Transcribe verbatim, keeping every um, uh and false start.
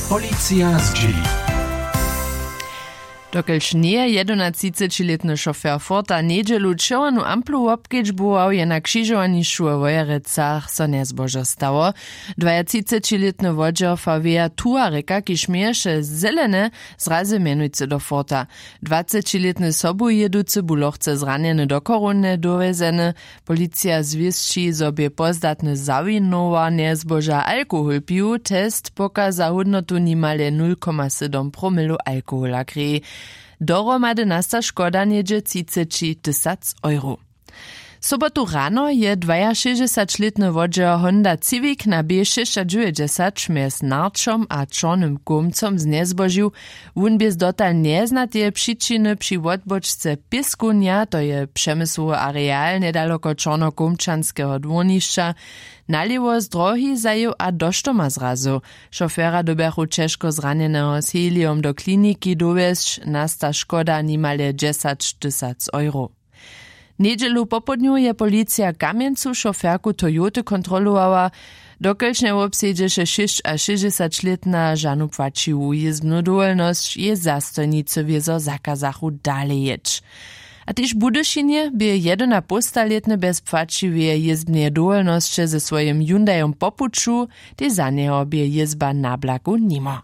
Policija zdźěli. Dokelž njeje jedenatřicećilětny šofer forta njedźelu čerwjenu amplu wobkedźbował, je na křižowanišću we wojerecach so njezbožo stało. Dwajatřicećilětny wodźer faweja tuareka, kiž měješe zelene, zrazy mjenujcy do forta. Dwacećilětny sobujěducy bu lochce zranjeny do chorownje dowjezeny. Policija zwěsći, zo bě pozdatny zawinowarnje zboža alkohol pił. Test pokaza hódnotu nimale nul koma sydom promilow alkohola krěj. Dohromady nasta škoda něhdźe třiceći tysac euro. Sobotu rano je dwajašěsćdźesaćlětny wodźer honda civic na b šěsćadźewjećdźesat mjez narčom a čornym kołmcom znjezbožił. Wón bě z dotal njeznateje přičiny při wotbočce pěskownja, to je přemysłowy areal njedaloko čornokołmčanskeho dwórnišća, nalěwo z drohi zajěł a do štoma zrazył. Šofera dyrbjachu ćežko zranjeneho z helijom do kliniki dowjesć. Nasta škoda nimale dźesaćtysac euro. Njedźelu popołdnju je policija w kamjencu šoferku toyoty kontrolowała. Dokelž njewobsedźeše šěsćašěsćdźesaćlětna žanu płaćiwu jězbnu dowolnosć, jej zastojnicy wězo zakazachu dale jěć. A tež w budyšinje bě jedynapołstalětny bjez płaćiweje jězbneje dowolnosće ze swojim hyundajom po puću. Tež za njeho bě jězba na blaku nimo.